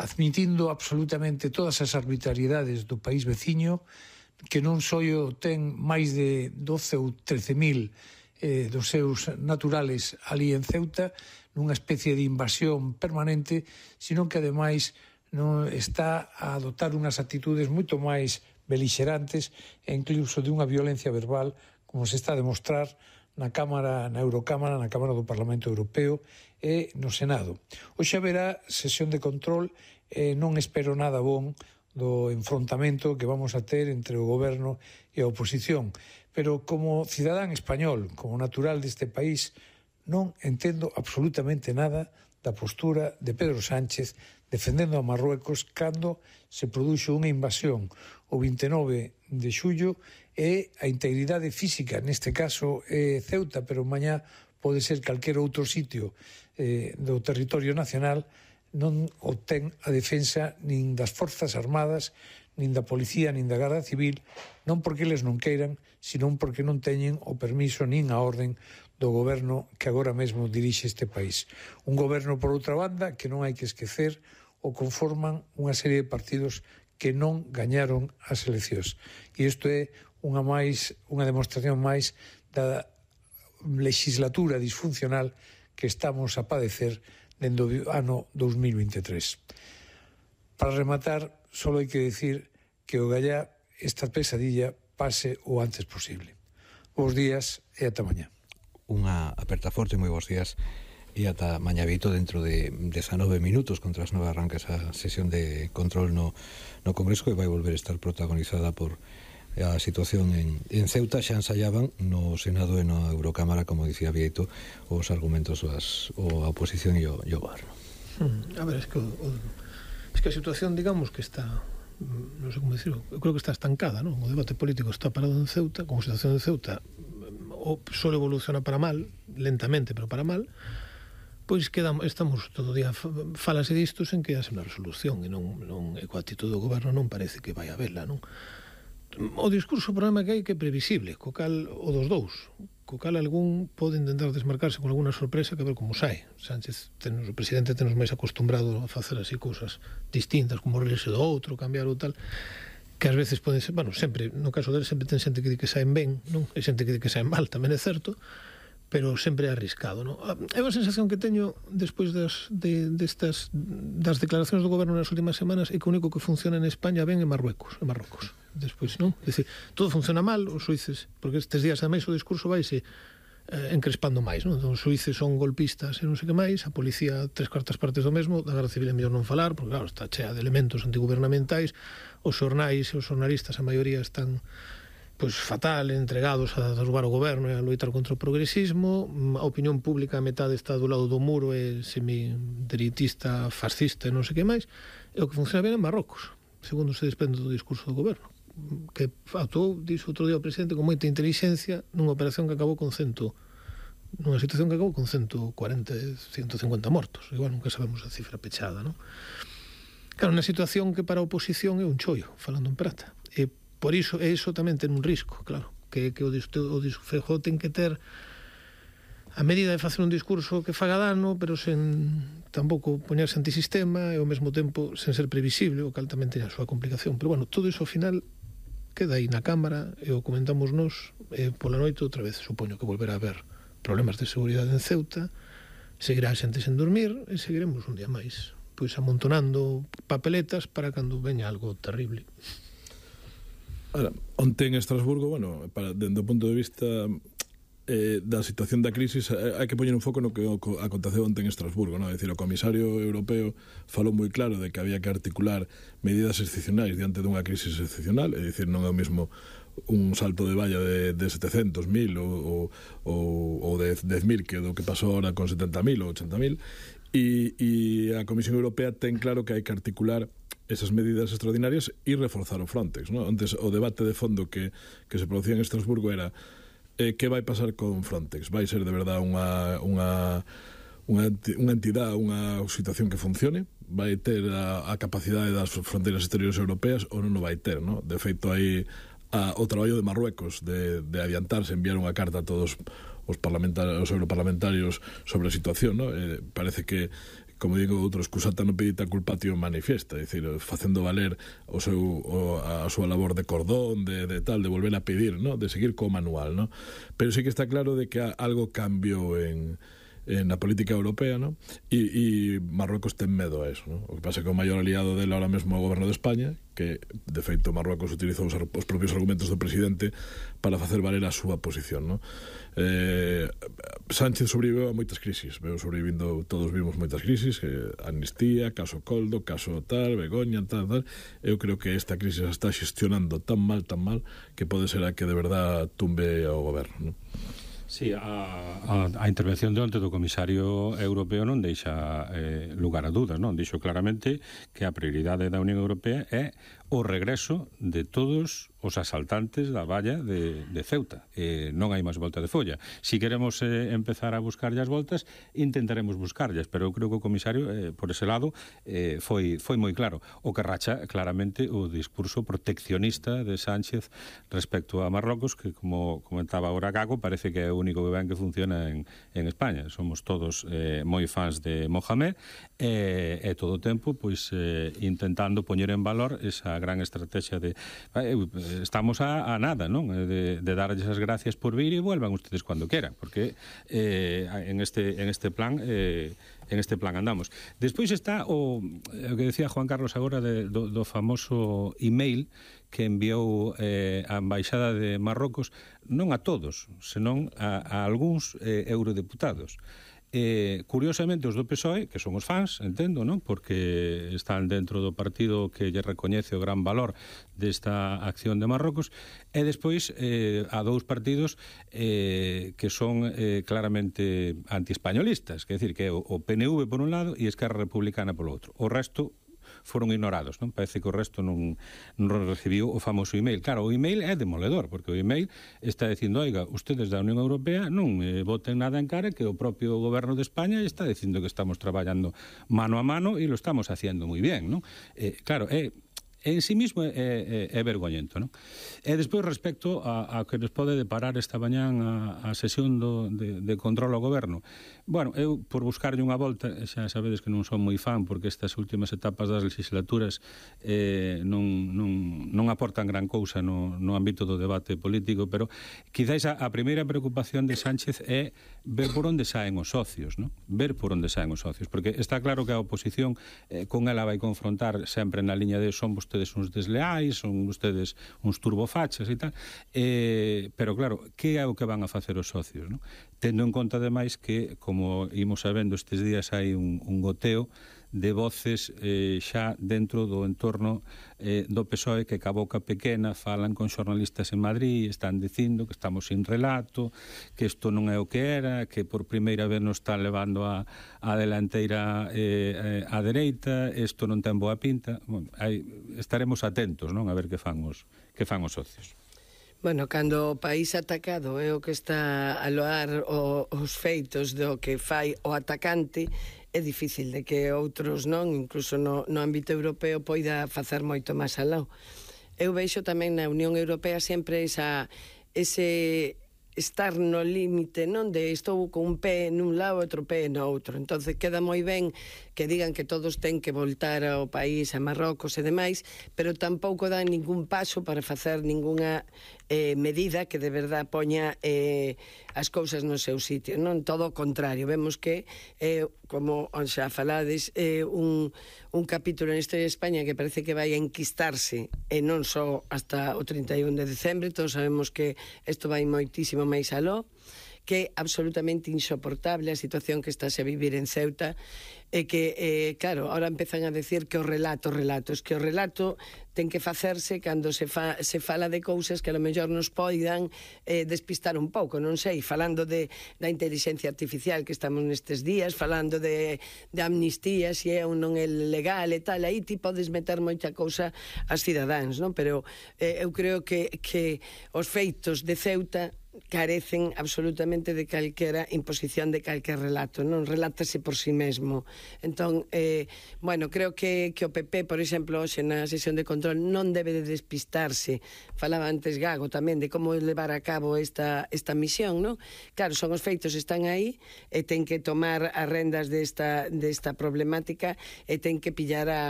admitindo absolutamente todas as arbitrariedades do país veciño, que non só ten máis de 12 ou 13.000 dos seus naturales ali en Ceuta, nunha especie de invasión permanente, sino que ademais non está a adoptar unhas actitudes moito máis belixerantes e incluso de unha violencia verbal, como se está a demostrar na Eurocámara, na Cámara do Parlamento Europeo e no Senado. Hoxe haberá sesión de control e non espero nada bon do enfrontamento que vamos a ter entre o goberno e a oposición. Pero como cidadán español, como natural deste país, non entendo absolutamente nada da postura de Pedro Sánchez defendendo a Marruecos cando se produxo unha invasión o 29 de xullo e a integridade física, neste caso Ceuta, pero mañá pode ser calquer outro sitio do territorio nacional, non obtén a defensa nin das forzas armadas, nin da policía, nin da Garda Civil, non porque eles non queiran, senón porque non teñen o permiso nin a orden do goberno que agora mesmo dirixe este país. Un goberno, por outra banda, que non hai que esquecer, o conforman unha serie de partidos que non gañaron as eleccións. E isto é unha demostración máis da legislatura disfuncional que estamos a padecer dende o ano 2023. Para rematar, só hai que decir que o gallá esta pesadilla pase o antes posible. Bos días e ata mañá. Unha aperta forte, moi bons días e ata mañá Vito. Dentro de 19 minutos contra as 9 arranca esa sesión de control no Congreso, que vai volver a estar protagonizada por a situación en Ceuta. Xa ensayaban no Senado e na Eurocámara, como dicía Vieito, os argumentos a oposición e o goberno. A ver, es que a situación, digamos, que está, non sei como dicirlo, eu creo que está estancada, non? O debate político está parado en Ceuta, como a situación de Ceuta só evoluciona para mal, lentamente, pero para mal, pois estamos todo o día falase disto sen que haxe unha resolución e coa actitude do goberno non parece que vai a vela, non? O discurso, o problema que hai que é previsible, co cal o dos dous, co cal algún pode intentar desmarcarse con alguna sorpresa que a ver como sai. Sánchez, o presidente, tenos máis acostumbrado a facer así cousas distintas, como rirse do outro, cambiar ou tal, que ás veces poden ser, bueno, sempre, no caso dele, sempre ten xente que di que saen ben, non? E xente que di que saen mal, tamén é certo, pero sempre é arriscado, non? É unha sensación que teño despois das declaracións do goberno nas últimas semanas, é que o único que funciona en España ben é Marruecos. Despois, non? É dicir, todo funciona mal, os suíces, porque estes días ademais o discurso vaise encrespando máis, non? Os suíces son golpistas e non sei que máis, a policía 3/4 partes do mesmo, da Garda Civil é mellor non falar, porque claro, está chea de elementos antigubernamentais, os xornais e os xornalistas, a maioría están pois fatal, entregados a derrubar o goberno e a loitar contra o progresismo. A opinión pública a metade está do lado do muro, é semidereitista, fascista e non sei que máis, e o que funciona ben en Marrocos, segundo se desprende do discurso do goberno, que actuou, dixo outro día o presidente, con moita inteligencia nunha operación que acabou con nunha situación que acabou con 140, 150 mortos. Igual nunca sabemos a cifra pechada, non? Claro, unha situación que para a oposición é un chollo, falando en prata. E por iso, iso tamén ten un risco, claro, que o Feijóo ten que ter a medida de facer un discurso que faga dano, pero sen tampouco poñerse antisistema e ao mesmo tempo sen ser previsible, o cal tamén ten a súa complicación. Pero bueno, todo iso ao final queda aí na Cámara e o comentamos nós pola noite outra vez. Supoño que volverá a haber problemas de seguridade en Ceuta, seguirá a xente sen dormir e seguiremos un día máis pois amontonando papeletas para cando veña algo terrible. Ahora, onte en Estrasburgo, bueno, dende o punto de vista da situación da crisis, hai que poñer un foco no que aconteceu onte en Estrasburgo, non? É dicir, o comisario europeo falou moi claro de que había que articular medidas excepcionais diante dunha crisis excepcional, é dicir, non é o mesmo un salto de valla de 700.000 ou de 10.000 que do que pasou ahora con 70.000 ou 80.000, e a Comisión Europea ten claro que hai que articular esas medidas extraordinarias e reforzar o Frontex, ¿no? Antes o debate de fondo que se producía en Estrasburgo era que vai pasar con Frontex? Vai ser de verdade unha entidade, unha situación que funcione? Vai ter a capacidade das fronteiras exteriores europeas ou non o vai ter, ¿no? De feito, hai o traballo de Marruecos de adiantarse, enviar unha carta a todos os europarlamentarios sobre a situación, ¿no? Parece que como digo, outro excusata no pedita culpatio manifiesta, é dicir, facendo valer a súa labor de cordón, de tal, de volver a pedir, ¿no? De seguir co manual, ¿no? Pero sí que está claro de que algo cambiou en la política europea, ¿no? Y Marruecos ten medo a eso, ¿no? O que pasa que o maior aliado dele ahora mesmo é o goberno de España, que de feito Marruecos utilizou os propios argumentos do presidente para facer valer a súa posición, ¿no? Sánchez sobreviveu a moitas crisis, todos vimos moitas crisis, amnistía, caso Coldo, caso tal, Begoña, tal. Eu creo que esta crisis está xestionando tan mal, que pode ser a que de verdad tumbe ao goberno, ¿no? Sí, a intervención de onte do comisario europeo non deixa lugar a dudas, non? Dixo claramente que a prioridade da Unión Europea é o regreso de todos os asaltantes da valla de Ceuta. Non hai máis volta de folla. Si queremos empezar a buscarlle as voltas, intentaremos buscarllas, pero eu creo que o comisario, por ese lado, foi moi claro. O que racha claramente o discurso proteccionista de Sánchez respecto a Marrocos, que, como comentaba agora Gago, parece que é o único que ven que funciona en España. Somos todos moi fans de Mohamed e todo o tempo pois intentando poñer en valor esa gran estrategia de estamos a nada, non? De darlles as gracias por vir e vuelvan ustedes cuando queran, porque en este plan andamos. Despois está o que decía Juan Carlos agora do famoso email que enviou a Embaixada de Marrocos, non a todos, senón a algúns eurodeputados. Curiosamente os do PSOE, que son os fans, entendo, non? Porque están dentro do partido que lle recoñece o gran valor desta acción de Marrocos, e despois a dous partidos que son claramente antiespañolistas, que é dicir, que é o PNV por un lado e Esquerra Republicana polo outro. O resto foron ignorados, non? Parece que o resto non recibiu o famoso email. Claro, o email é demoledor, porque o email está dicindo, oiga, ustedes da Unión Europea non voten nada en cara, que o propio goberno de España está dicindo que estamos traballando mano a mano e lo estamos haciendo moi bien, non? Claro, en sí mismo é vergoñento, non? E despois, respecto a que nos pode deparar esta mañán a sesión de control ao goberno, bueno, eu, por buscarlle unha volta, xa sabedes que non son moi fan, porque estas últimas etapas das legislaturas non aportan gran cousa no ámbito do debate político, pero quizáis a primeira preocupación de Sánchez é ver por onde saen os socios, non? Ver por onde saen os socios, porque está claro que a oposición con ela vai confrontar sempre na liña de son vostedes uns desleais, son vostedes uns turbofachas e tal, pero claro, que é o que van a facer os socios, non? Tendo en conta, ademais, que, como imos sabendo estes días, hai un goteo de voces xa dentro do entorno do PSOE que ca boca pequena falan con xornalistas en Madrid e están dicindo que estamos sin relato, que isto non é o que era, que por primeira vez nos están levando a delanteira á dereita, isto non ten boa pinta. Bueno, estaremos atentos, non, a ver que fan os socios. Bueno, cando o país atacado é o que está a loar os feitos do que fai o atacante, é difícil de que outros non, incluso no ámbito europeo, poida facer moito máis alá. Eu veixo tamén na Unión Europea sempre ese estar no límite, non? De estou con un pé nun lado e outro pé no outro. Entonces queda moi ben que digan que todos ten que voltar ao país, a Marrocos e demais, pero tampouco dan ningún paso para facer ninguna medida que de verdad poña as cousas no seu sitio, non? Todo o contrario, vemos que como xa falades, un capítulo na historia de España que parece que vai a enquistarse, e non só hasta o 31 de decembre. Todos sabemos que isto vai moitísimo máis aló, que é absolutamente insoportable a situación que estáse a vivir en Ceuta, e que, claro, ahora empezan a decir que o relato, es que o relato ten que facerse cando se fala de cousas que a lo mellor nos poidan despistar un pouco, non sei, falando da inteligencia artificial que estamos nestes días, falando de amnistía, se é ou non é legal e tal, aí ti podes meter moita cousa ás cidadáns, non? Pero eu creo que os feitos de Ceuta carecen absolutamente de calquera imposición de calquer relato, non relátase por si mesmo. Entón, bueno, creo que o PP, por exemplo, hoxe na sesión de control non debe de despistarse. Falaba antes Gago tamén de como levar a cabo esta misión, non? Claro, son os feitos, están aí e ten que tomar as rendas desta problemática e ten que pillar a